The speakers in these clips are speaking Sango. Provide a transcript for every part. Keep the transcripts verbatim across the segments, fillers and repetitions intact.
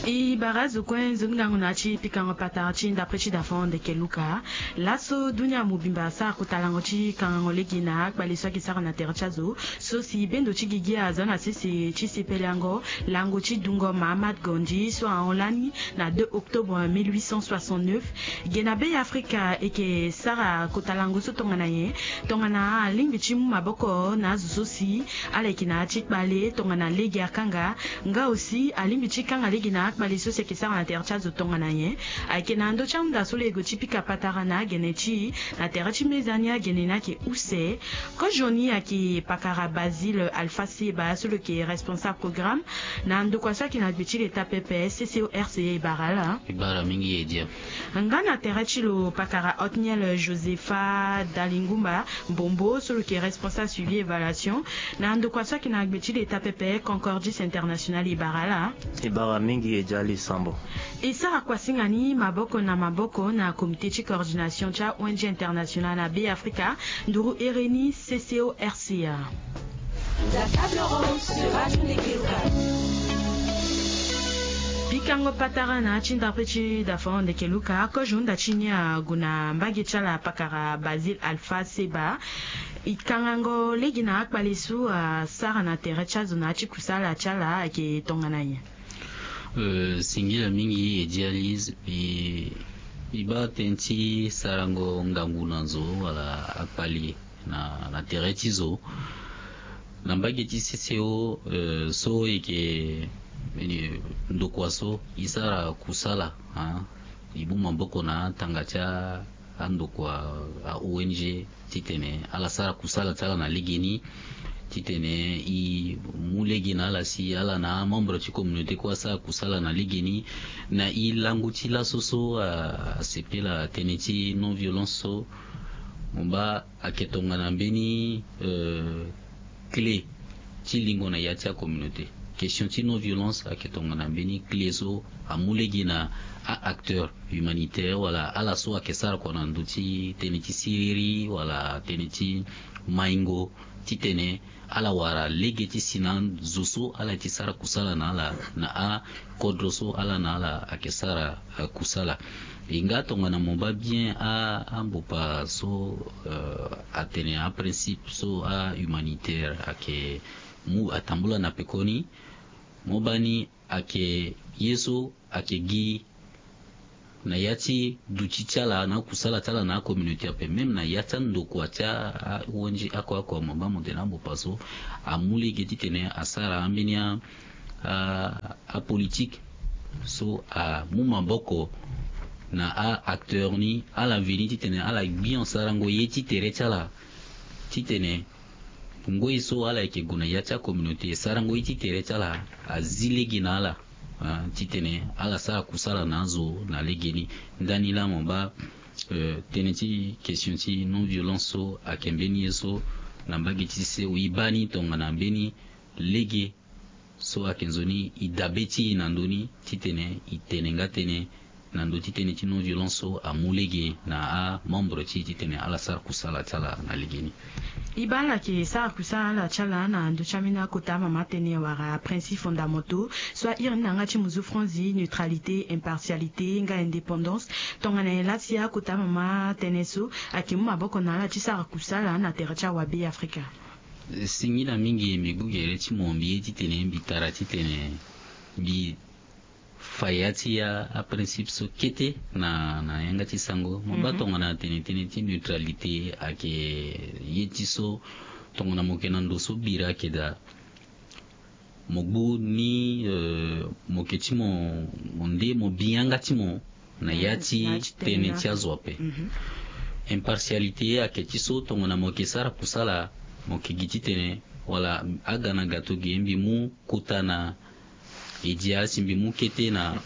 E bara azo kue nzoni ngangu na ya ti pikango patara ti ndapre ti dafon ndeke luka. Laso dunia mobimba asara kota lango ti kangango lege na akpale so ayeke sara na tere ti azo, so si bendo ti gigi aza na sese ti sepelango lango ti dungo Mahatma Gandhi so ahon lani na deux octobre mille huit cent soixante-neuf. Ge na be ya Afrika eke sara kota lango so tongana nyen? Tongana alingbi ti mu maboko na azo so si ala yeke na ya ti kpale tongana lege akanga, nga aussi alingbi ti kanga lege na akpale so si ayeke sara na tere ti azo tongana nyen? Ayeke na ndö ti ahunda so lo yeke ti pika patara na agene ti e na tere ti meza ni agene ni ayeke use. Kozo ni ayeke pakara Basile Alpha Seba so lo yeke responsable programme na ndokua so ayeke na gbe ti leta pepe C C O R C A. E bara ala. E bara mingi e dia. Nga na tere ti lo pakara Otniel Josepha Dalingumba Mbombo so lo yeke responsable suivi évaluation na ndokua so ayeke na gbe ti leta pepe Concordis International. E bara ala. E bara mingi e dia li sambo. E sara kuasinga ni maboko na maboko na comité ti coordination ti a-O N G international na be Afrika nduru ere ni C C O R C A. La table ronde sur Radio Ndeke Luka. Pikango patara na ya ti ndapre ti dafon ndeke luka, kozo hunda ti ni ague na mbage ti ala pakara Basile Alpha Seba. E kangango lege na akpale so asara na tere ti azo na ya ti kusala ti ala ayeke tongana nyen? Euh, singila mingi e dia li, e, e baa tënë ti sarango ngangu na zo wala akpale na, na tere ti zo. Na mbage ti C C O, euh, so e yeke, eh, ndokua so e sara kusala, hein, e mu maboko na atanga ti a, andokua a-O N G titene ala sara kusala ti ala na legeni, titene e mu lege na ala si ala na amembre ti communauté kue asara kusala na legeni. Na e lango ti laso so a, asepela tënë ti non violence so, mo baa ayeke tongana mbeni, euh, clé ti lingo na ya ti acommunauté. Question ti non violence ayeke tongana mbeni clé so amu lege na a-acteur humanitaire wala ala so ayeke sara kua na ndö ti tënë ti siriri wala tënë ti maingo, titene ala wara lege ti si na azo so ala ye ti sara kusala na ala na akodro so ala na ala ayeke sara, eh, kusala. E nga tongana mo baa bien a, ambopa so, eh, atene aprincipe so ahumanitaire ayeke mu atambula na pekoni, mo baa ni ayeke ye so ayeke gi na ya ti duti ti ala na akusala ti ala na acommunauté ape, même na ya ti andokua ti a-O N G oko oko, mo baa mo tene ambopa so amu lege titene asara ambeni a, a, apolitike so amu maboko na a-acteur ni, ala veni titene ala gbi en sarango ye ti tere ti ala, titene ngoi so ala yeke gue na ya ti acommunauté, sarango ye ti tere ti ala azi lege na ala, ah, titene ala sara kusala na azo na legeni. Ndani laa mo baa, eh, tënë ti question ti non violence so ayeke mbeni ye so na mbage ti C C O e baa ni tongana mbeni lege so ayeke nzoni e dabe ti e na ndö ni titene e tene nga tënë na ndö ti tënë ti non violence so amu lege na amembre ti e titene ala sara kusala ti ala na legeni. E baa ala yeke sara kusala ti ala na ndö ti ambeni akota mama tënë wala principe fondamentaux so a iri ni na yanga ti mo zo franzi neutralité, impartialité nga indépendance. Tongana nyen laa si akota mama tënë so ayeke mu maboko na ala ti sara kusala na tere ti awabe Afrika? Singila mingi, mbi gue gere ti mo, mbi ye titene mbi tara titene mbi fa ya ti a, aprincipe so kete na, na yanga ti sango. Mo baa tongana tene tënë ti neutralité ayeke ye ti so tongana mo yeke na ndo so bira ayeke daa, mo gbu ni, eh, mo yeke ti mo, mo nde mo bi yanga ti mo na ya ti tënë ti azo ape. Impartialité ayeke ti so tongana mo yeke sara kusala, mo yeke gi titene wala aga na gato ge mbi mu kota na Edia si mbi mu kete na,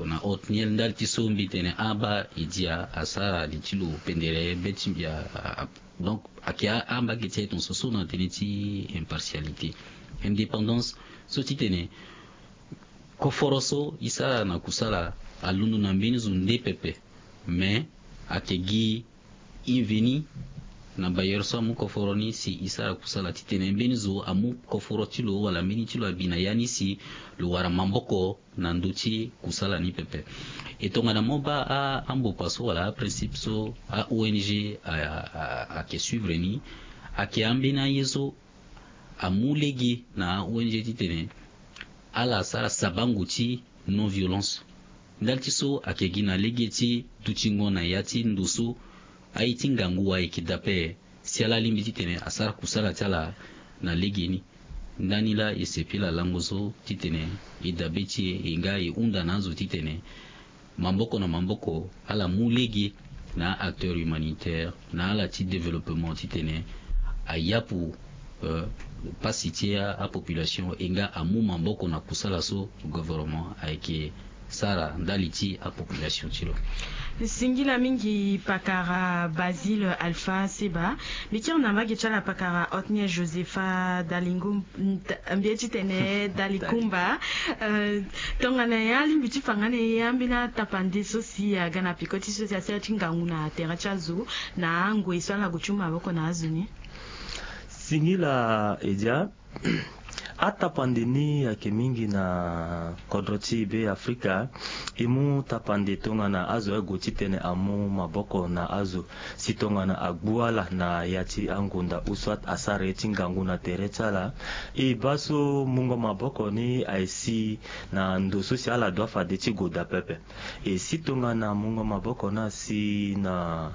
na Otniel ndali ti so mbi tene aba Edia asara li ti lo pendere be ti mbi a, a, a, donc ayeke a, ambage ti aye tongaso so na tënë ti impartialité, indépendance, so titene koforo so e sara na kusala alondo na mbeni zo nde pepe. Mais ayeke gi e veni na bailleur so amu koforo ni si e sara kusala titene mbeni zo amu koforo ti lo wala mbeni ti lo abi na ya ni si lo wara maboko na ndö ti kusala ni pepe. E tongana mo baa a, ambokua so wala aprincipe so a-O N G a, a, ayeke suivre ni, ayeke ambeni aye so amu lege na a-O N G titene ala sara sabango ti non-violence. Ndali ti so ayeke gi na lege ti dutingo na ya ti ndo so aye ti ngangu ayeke dape si ala lingbi titene asara kusala ti ala na legeni. Ndani laa e sepela lango so titene e dabe ti e, e nga e hunda na azo titene maboko na maboko ala mu lege na a-acteur humanitaire na ala ti développement titene ayapu, euh, pasi ti a, apopulation e nga amu maboko na kusala so gouvernement ayeke sara ndali ti apopulation ti lo. Singila mingi pakara Basile Alpha Seba. Mbi kiri na mbage ti ala pakara Otniel Josepha Dalingo, mbi ye titene Dalikumba. Euh, tongana ya lingbi ti fa nga na ye ambeni atapande so si aga na peko ti so si asara ti ngangu na tere ti azo na angoi so ala gue ti mu maboko na azo ni. Singila Edia. Atapande ni ayeke mingi na kodro ti Be Afrika. E mu tapande tongana azo aye gue titene amu maboko na azo si tongana agbu ala na ya ti angunda ou soit asara ye ti ngangu na tere ti ala. E baa so mungo maboko ni aye si na ndo so si ala doit fade ti gue daa pepe. E si tongana mungo maboko ni asi na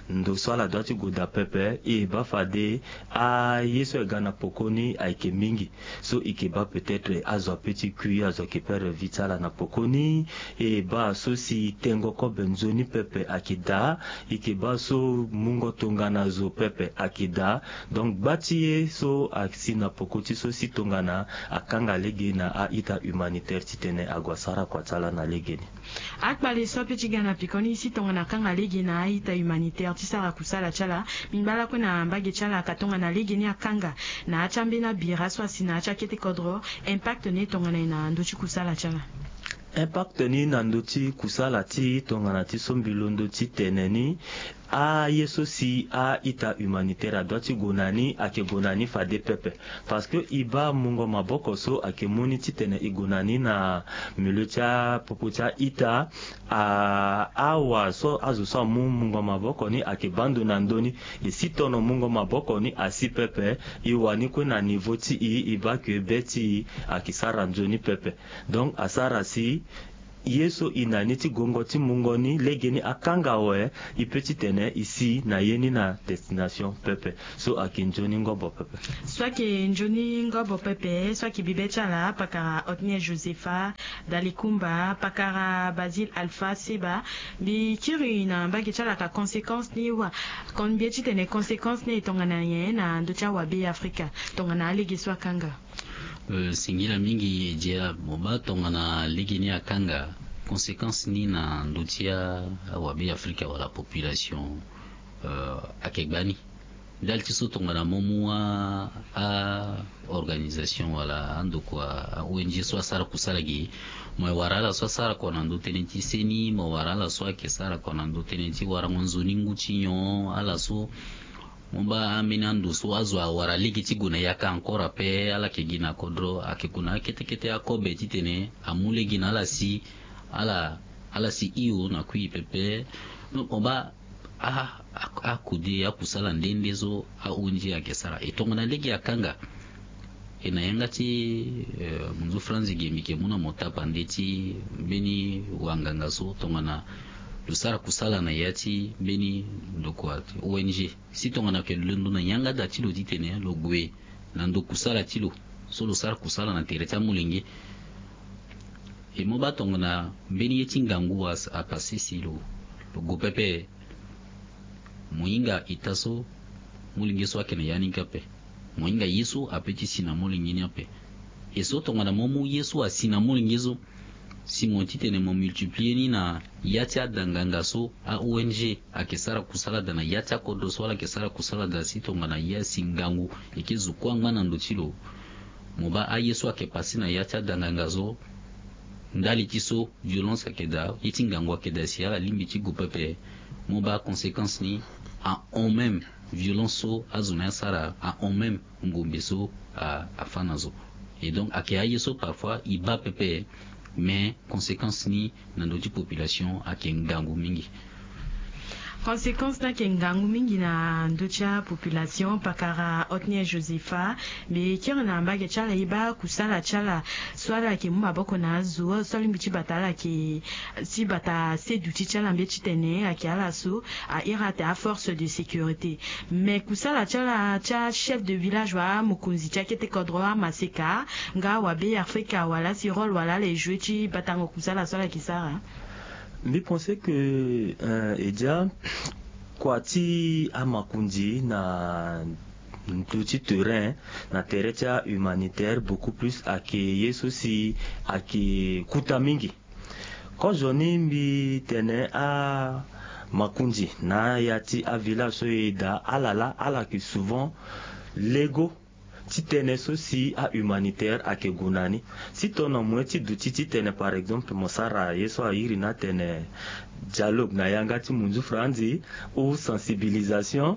ndo so ala doit ti gue daa pepe, e baa fade aye so e ga na poko ni ayeke mingi. So e ke baa peut-être azo ape ti kui, azo ayeke perdre vie ti ala na poko ni. E baa so si tengo kobe nzoni pepe ayeke daa. E ke baa so mungo tongana zo pepe ayeke daa. Donc gba ti ye so asi na poko ti so si tongana akanga lege na a-ita humanitaire titene ague asara kua ti ala na legeni. Akpale so ape ti ga na pekoni si tongana akanga lege na a-ita humanitaire ti sara kusala ti ala. Mbi ngba lakue na mbage ti ala ka tongana lege ni akanga na ya ti ambeni abira so asi na ya ti akete kodro. Impact ni tongana e na ndö ti kusala ti ala? Impact ni na ndö ti kusala ti tongana ti so mbi londo ti tene ni, aye so si a-ita humanitaire adoit ti gue na ni ayeke gue na ni fade pepe. Parce que e baa mungo maboko so ayeke mu ni titene e gue na ni na milieu ti apopo ti a-ita. A, awa so azo so amu mungo maboko ni ayeke baa ndo na ndö ni. E si tono mungo maboko ni asi pepe, e wani kue na niveau ti e, e baa ke be ti e ayeke sara nzoni pepe. Donc asara si ye so e na ni ti gongo ti mungo ni legeni akanga awe, e peut titene e si na ye ni na destination pepe. So ayeke nzoni ngobo pepe. So ayeke nzoni ngobo pepe, so ayeke bibe ti ala pakara Otniel Josepha Dalikumba, pakara Basile Alpha Seba. Mbi kiri na mbage ti ala ka conséquence ni wa, kon mbi ye titene conséquence ni e tongana nyen na ndö ti awabe Afrika tongana alege so akanga? Euh, singila mingi Edia. Mo baa tongana lege ni akanga, conséquence ni na ndö ti a, awabe Afrika wala population, euh, ayeke gbani. Ndali ti so tongana mo mu a, a organisation wala andokua a-O N G so asara kusala ge, mo wara ala so asara kua na ndö tënë ti seni, mo wara ala so ayeke sara kua na ndö tënë ti warango nzoni ngu ti nyon, ala so mo baa ambeni ando so azo awara lege ti gue na yaka encore ape, ala yeke gi na kodro, ayeke gue na akete kete akobe titene amu lege na ala si, ala, ala si hio na kui pepe. Donc mo baa a, a, akode akusala nde nde so a-O N G ayeke sara. E tongana lege akanga, e na yanga ti, euh, munzu franzi ge mbi yeke mu na mo tapande ti mbeni wanganga so tongana lo sara kusala na ya ti mbeni ndokua O N G. Si tongana ayeke londo na yanga da ti lo titene lo gue na ndo kusala ti lo so lo sara kusala na tere ti amolenge. E mo baa tongana mbeni ye ti ngangu a, apase si lo, lo gue pepe. Mo hinga ita so molenge so ayeke na ya ni kâ ape. Mo hinga ye so ape ti si na molenge ni ape. E so tongana mo mu ye so asi na molenge so, si mo titene mo multiplier ni na ya ti ada nganga so a-O N G ayeke sara kusala daa na ya ti akodro so ala yeke sara kusala daa si tongana ye asi ngangu e ke zo kue angba na ndo ti lo. Mo baa aye so ayeke pase na ya ti ada nganga so, ndali ti so violence ayeke daa, ye ti ngangu ayeke daa si ala lingbi ti gue pepe. Mo baa conséquence ni ahon même violence so azo na ya asara ahon même ngombe so afa na zo. Et donc ayeke aye so parfois e baa pepe. Mais conséquence ni na ndö ti population ayeke ngangu mingi. Conséquence ni ayeke ngangu mingi na ndö ti apopulation. Pakara Otniel Josepha, mbi kiri na mbage ti ala e baa kusala ti ala so ala yeke mu maboko na azo so alingbi ti bata ala yeke ti bata seduti ti ala mbi ti tene ayeke ala so a iri ate aforce de sécurité. Mais kusala ti ala ti achef de village wala amokonzi ti akete kodro amaseka nga wabe afrika wala si rôle wala ala e jouer ti batango kusala so ala yeke sara? Mbi pense que eh, e dia kua ti amakonzi na ndö ti terrain na tere ti ahumanitaire beaucoup plus ayeke ye so si ayeke kuta mingi. Kozoni mbi tene amakonzi na ya ti avillage so e daa ala laa ala yeke souvent lego ti tënë so si ahumanitaire ayeke gue na ni. Si tongana mo ye ti duti ti tene par exemple mo sara ye so airi ni atene dialogue na yanga ti munzu franzi ou sensibilisation,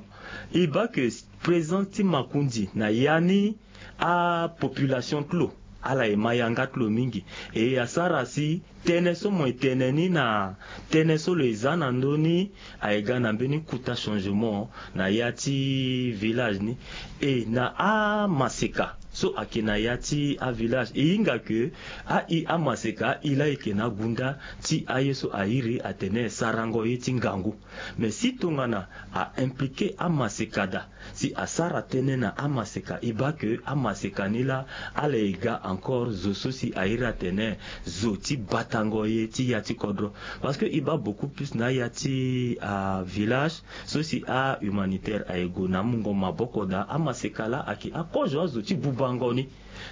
e baa ke présence ti makonzi na ya ni apopulation ti lo ala e ma yanga ti lo mingi. E asara si tënë so mo e tene ni na tënë so lo e za na ndö ni aye ga na mbeni kuta changement na ya ti village ni. E na amaseka so ayeke na ya ti avillage e hinga ke ai amaseka ai laa e yeke na agunda ti aye so airi atene sarango ye ti ngangu. Mais si tongana a impliquer amaseka daa si asara tënë na amaseka e baa ke amaseka ni laa ala e ga encore zo so si airi atene zo ti batango ye ti ya ti kodro. Parce que e baa beaucoup plus na aya ti avillage so si ahumanitaire aye gue na amungo maboko daa amaseka laa ayeke akozo azo ti bubango ni.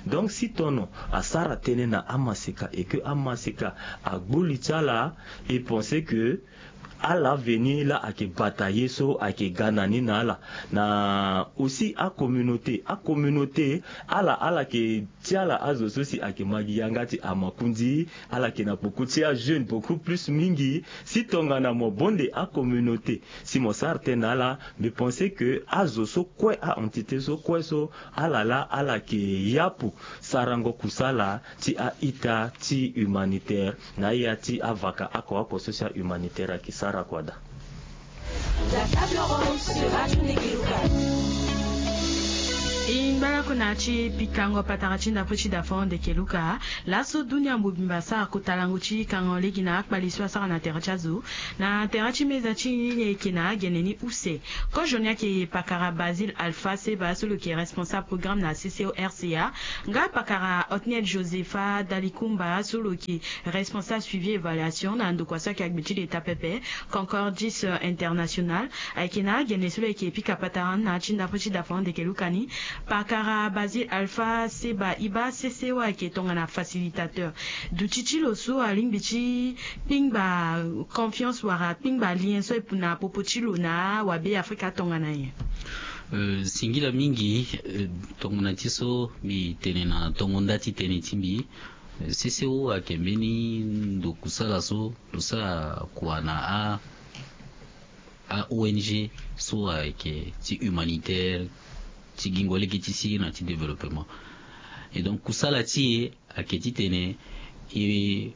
Donc si tono asara tënë na amaseka et que amaseka agbu li ti ala e pense que ala veni laa ayeke bata ye so ayeke ga na ni na ala. Na aussi acommunauté acommunauté ala ala yeke ti ala azo so si ayeke ma gi yanga ti amakonzi ala yeke na poko ti ajeune beaucoup plus mingi. Si tongana mo bonde acommunauté si mo sara tënë na ala mbi pense que azo so kue aentité so kue so ala laa ala yeke yapu sarango kusala ti a-ita ti humanitaire na aya ti avaka oko oko so si ahumanitaire ayeke sara kua daa. E ngba lakue na ya ti pikango patara ti ndapre ti dafon ndeke luka. Laso dunia mobimba asara kota lango ti kango lege na akpali so asara na tere ti azo na tere ti meza ti ni ni ayeke na agene ni use. Kozo ni ayeke pakara Basile Alpha Seba so lo yeke responsable programme na C C O R C A, nga pakara Otniel Josepha Dalikumba so lo yeke responsable suivi évaluation na ndokua so ayeke agbe ti leta pepe Concordis International. Ayeke na agene so lo yeke pika patara na ya ti ndapre ti dafon ndeke luka ni. Pakara Basile Alpha Seba e baa C C O ayeke tongana facilitateur. Duti ti lo so alingbi ti kpingba confiance wala kpingba lien so e pu na popo ti lo na awabe afrika tongana nyen? Euh, singila mingi, euh, tongana ti so mbi tene na tongo nda ti tënë ti mbi. Euh, C C O ayeke mbeni ndo kusala so lo sara kua na a a-O N G so ayeke ti humanitaire, ti gingo lege ti siriri na ti développement. Et donc kusala ti e ayeke titene e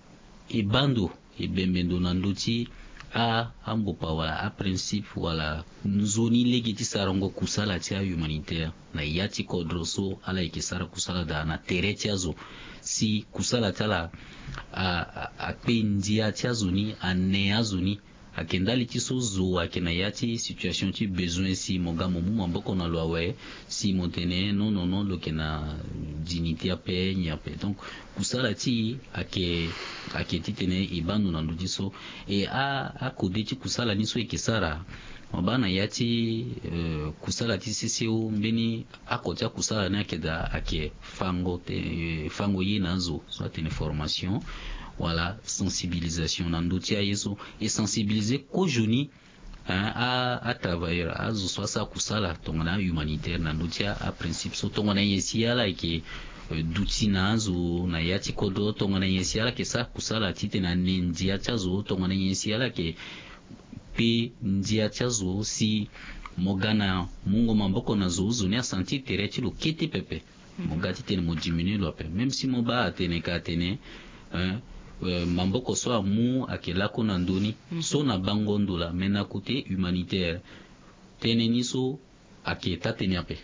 e baa ndo e bembe ndo na ndö ti a ambopa wala aprincipe wala nzoni lege ti sarango kusala ti ahumanitaire na ya ti kodro so ala yeke sara kusala daa na tere ti azo. Si kusala ti ala a, a, akpe ndia ti azo ni, ane azo ni. Ayeke ndali ti so zo ayeke na ya ti situation ti besoin si mo ga mo mu maboko na lo awe, si mo tene non non non lo yeke na dignité ape nyen ape. Donc kusala ti e ayeke ayeke titene e baa ndo na ndö ti so. E a akode ti kusala ni so e yeke sara, mo baa na ya ti eh, kusala ti C C O mbeni oko ti akusala ni ayeke daa ayeke fango te, eh, fango ye na azo so atene formation wala sensibilisation na ndö ti aye so e sensibiliser kozoni hein, a, a travailleur azo so asara kusala tongana ahumanitaire na ndö ti aprincipe so tongana nyen si ala yeke eh, duti na azo na ya ti kodro tongana nyen si ala yeke sara kusala titene ane ndia ti azo tongana nyen si ala yeke kpe ndia ti azo si mo ga na mungo maboko na zo, zo ni asentir tere ti lo kete pepe. Mo ga titene mo diminuer lo ape, même si mo baa atene ka atene, eh, eh, maboko so amu ayeke lakue na ndö ni so na bango ndo laa, mais na côté humanitaire tënë ni so ayeke taa-tënë ape.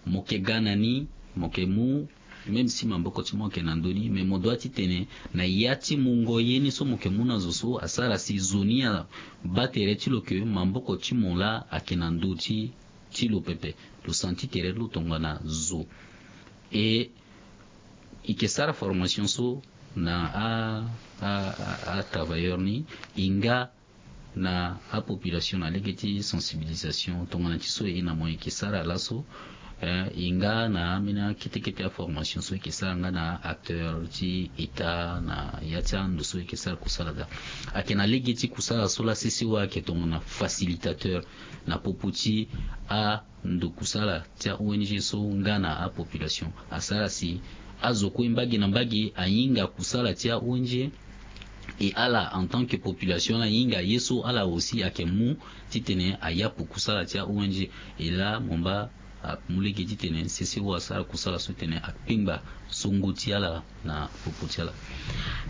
Mo yeke ga na ni, mo yeke mu, même si maboko ti mo ayeke na ndö ni, mais mo doit titene na ya ti mungo ye ni so mo yeke mu na zo so asara si zo ni abaa tere ti lo ke maboko ti mo laa ayeke na ndö ti ti lo pepe. Lo sentir tere ti lo tongana zo. E e yeke sara formation so na a, a, a, a travailleur ni, e nga na apopulation na lege ti sensibilisation tongana ti so e na mo e yeke sara laso. Eh, e nga na ambeni akete kete aformation so e yeke sara nga na acteur ti État na ya ti ando so e yeke sara kusala daa. Ayeke na lege ti kusala so laa C C O ayeke tongana facilitateur na popo ti a ndo kusala ti a-O N G so nga na apopulation. Asara si azo kue mbage na mbage ahinga kusala ti a-O N G. E ala en tant que population ala hinga ye so ala aussi ayeke mu titene ayapu kusala ti a-O N G. E laa mo mba amu lege titene C C O asara kusala so titene akpengba songo ti ala na popo ti ala.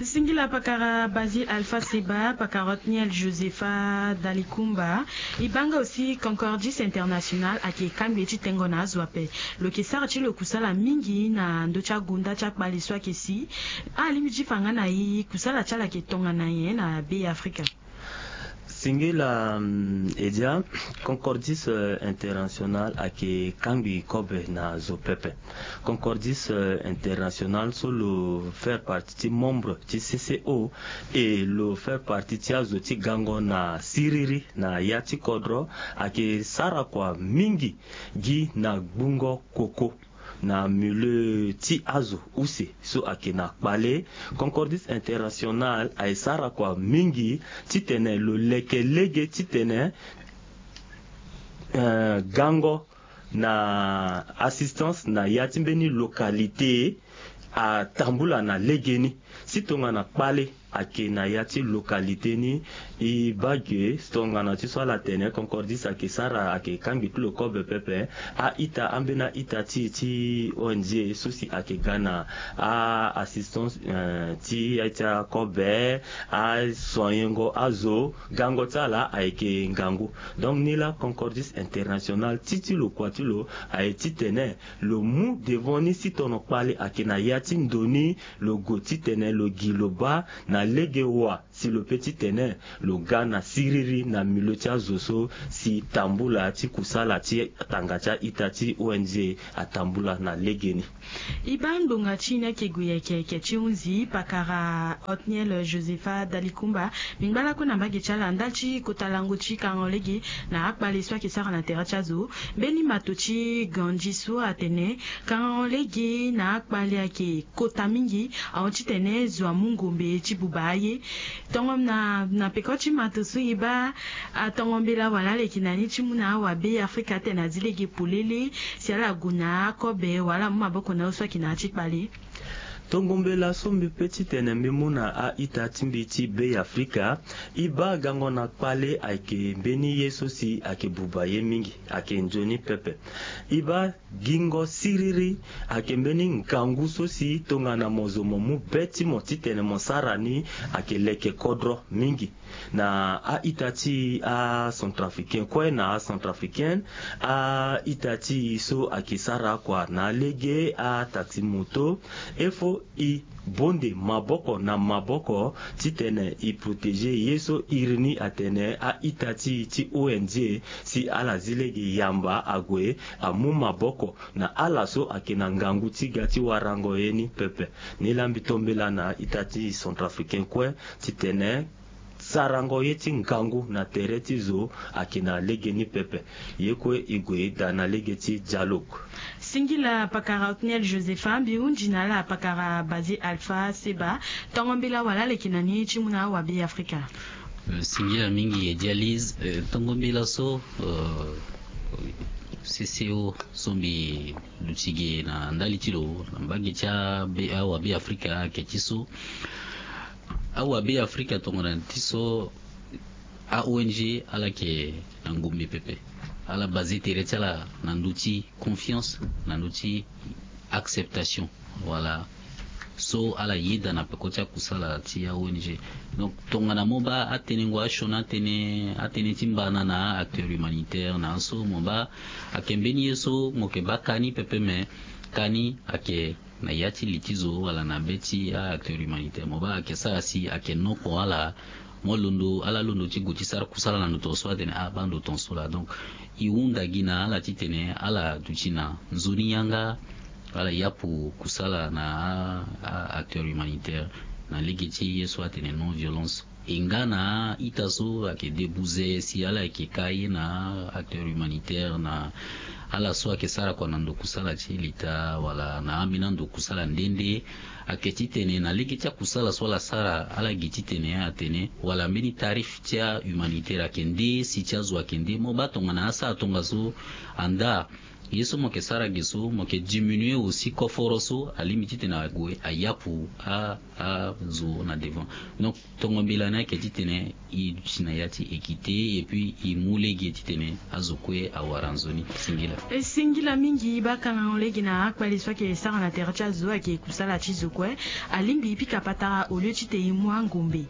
Singila pakara Basile Alpha Seba, pakara Othniel Josepha Dalikumba. E baa nga aussi Concordis International ayeke kangbi ti tengo na azo ape. Lo yeke sara ti lo kusala mingi na ndö ti agonda ti akpale so ayeke si. Alingbi ti fa nga na e kusala ti ala ayeke tongana nyen na Be Afrika? Singila, mm, Edia, Concordis, euh, International ayeke kangbi kobe na zo pepe. Concordis, euh, International so lo faire partie ti membre ti C C O, e lo faire partie ti azo ti gango na siriri na ya ti kodro, ayeke sara kua mingi gi na gbungo koko na milieu ti azo use so ayeke na kpale. Concordis International aye sara kua mingi titene lo leke lege titene, eh, gango na assistance na ya ti mbeni localité atambula na legeni. Si tongana kpale ayeke na ya ti localité ni, e baa ge tongana ti so ala tene Concordis ayeke sara, ayeke kangbi ti lo kobe pepe. A-ita, ambeni a-ita ti e ti O N G so si ayeke ga na a-assistance, eh, ti ya ti akobe, asoigner-ngo azo, gango ti ala ayeke ngangu. Donc ni laa Concordis International ti ti lo kua ti lo aye titene lo mu devant ni si tono kpale ayeke na ya ti ndo ni, lo gue titene lo gi lo baa na lege wa si lo pe titene lo ga na siriri na milieu ti azo so si tambula ti kusala ti tanga ti a-ita ti O N G atambula na legeni. E baa ngbonga ti e ni ayeke gue yeke yeke ti hunzi pakara Othniel Josepha Dalikumba. Mbi ngba lakue na mbage ti ala ndali ti kota lango ti karango lege na akpale so ayeke sara na tere ti azo. Mbeni mato ti Gandhi so atene karango lege na akpale ayeke kota mingi, ahon titene zo amu ngombe ti buba aye. Tongo na, na peko ti mato so e baa, atongo mbela wala aleke na ni ti mu na awabe Afrika atene azi lege polele si ala gue na akobe wala amu maboko na aye so ayeke na ya ti kpale. Tongo mbela so mbi pe titene mbi mu na a-ita ti mbi ti Be Afrika, e baa gango na kpale ayeke mbeni ye so si ayeke buba ye mingi, ayeke nzoni pepe. E baa gingo siriri ayeke mbeni ngangu so si tongana mo zo mo mu be ti mo titene mo sara ni ayeke leke kodro mingi. Na a-ita ti acentrafricain kue na acentrafricaine, a-ita ti e so ayeke sara kua na lege ataxi moto, il faut e bonde maboko na maboko titene e protéger ye so iri ni atene a-ita ti e ti O N G si ala zi lege yamba ague amu maboko na ala so ayeke na ngangu ti ga ti warango ye ni pepe. Ni laa mbi to mbela na a-ita ti centrafricain kue titene sarango ye ti ngangu na tere ti zo ayeke na legeni pepe. Ye kue e gue e daa na lege ti dialogue. Singila pakara Othniel Josepha, mbi hunzi na ala pakara Basile Alpha Seba. Tongo mbela wala aleke na ni ti mu na awabe Afrika. Eh, singila mingi e dialyse, eh, tongo mbela so, eh, C C O so mbi luti ge na ndali ti lo na mbage ti abe, awabe Afrika ayeke ti so. Awabe Afrika tongana ti so a-O N G ala yeke na ngombe pepe. Ala base tere ti ala na ndö ti confiance, na ndö ti acceptation, wala so ala yeda na peko ti akusala ti a-O N G. Donc tongana mo baa atënë ngoi asioni atënë, atënë ti mbana na a-acteur humanitaire na aso, mo baa ayeke mbeni ye so mo yeke baa kani pepe, me kani ayeke na ya ti li ti zo wala na be ti a-acteur humanitaire, mo baa ayeke sara si ayeke noko ala, mo londo ala londo ti gue ti sara kusala na ndo tonso atene abaa ndo tonso laa. Donc e hunda gi na ala titene ala duti na nzoni yanga, ala yapu kusala na a-acteur humanitaire na lege ti ye so atene non violence. E nga na a-ita so ayeke debuze si ala yeke ka ye na a-acteur humanitaire na ala so ayeke sara kua na ndo kusala ti leta wala na ambeni ando kusala nde nde, ayeke titene na lege ti akusala so ala sara ala gi titene atene wala mbeni tarif ti a-humanitaire ayeke nde, si ti azo ayeke nde, mo baa tongana asara tongaso andaa ye so mo yeke sara ge so mo yeke diminuer aussi koforo so alingbi titene ague ayapu a azo na devant. Donc tongo mbela ni ayeke titene e duti na ya ti équité et puis e mu lege titene azo kue awara nzoni. Singila. E singila mingi baa kangango lege na akpale so ayeke sara na tere ti azo ayeke kusala ti zo kue. Alingbi e pika patara au lieu titene e mu angombe.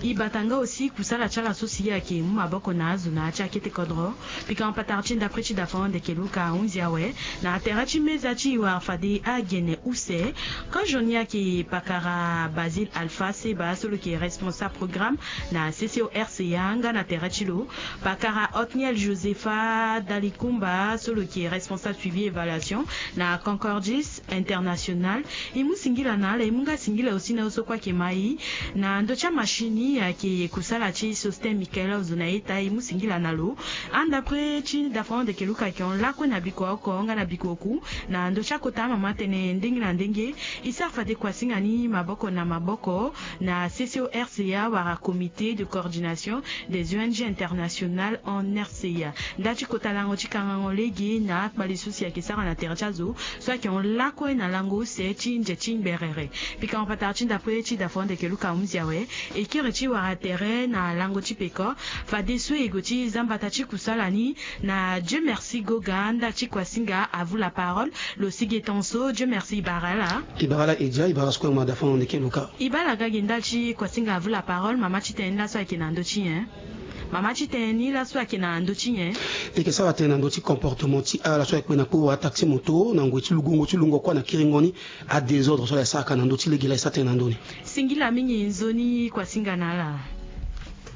E bata nga aussi kusala ti ala so si ayeke mu maboko na azo na ya ti akete kodro. Pikango patara ti ndapre ti dafa wande yeke luka ahunzi awe na tere ti meza ti e wara fade agene use. Kozo ni ayeke pakara Basile Alpha Seba so lo yeke responsable programme na C C O R C A nga na tere ti lo. Pakara Otniel Josepha Dalikumba so lo yeke responsable suivi évaluation na Concordis International. E mu singila na ala, e mu nga singila aussi na azo so kue ayeke ma e na ndö ti amashini ayeke kusala ti Sosten Michael Ozo na eta, e mu singila na lo. Andapre ti dafa wande yeke luka ayeke hon lakue na biko oko nga na biko oku na ndö ti akota amama atene ndenge na ndenge e sara fade kuasinga ni maboko na maboko na C C O R C A wala Comité de coordination des O N G internationales en R C A. Nda ti kota lango ti kangango lege na akpale so si ayeke sara na tere ti azo so ayeke hon lakue na lango use ti nze ti ngberere. Pikango patara ti ndapre ti dafa wande yeke luka ahunzi awe. E kiri ti wara tere na lango ti peko fadeso e gue ti za mbata ti kusala ni na Dieu merci Goga nda ti kuasinga à vous la parole. Lo si ge tonso Dieu merci, e bara ala. E bara ala Edia, e bara ala so kue mo ma dafa wande yeke luka. E bara ala ga ge nda ti kuasinga à vous la parole, mama ti tene ni laso ayeke na ndö ti nyen? Mama ti tene ni laso ayeke na ndö ti nyen? E yeke sara tënë na ndö ti comportement ti ala so ayeke kpe na kpo wala taxi moto na ngoi ti lugongo ti lungo kua na kiringo ni. Adésordre so ala yeke saraka na ndö ti lege laa e sara tënë na ndö ni. Singila mingi nzoni kuasinga na ala.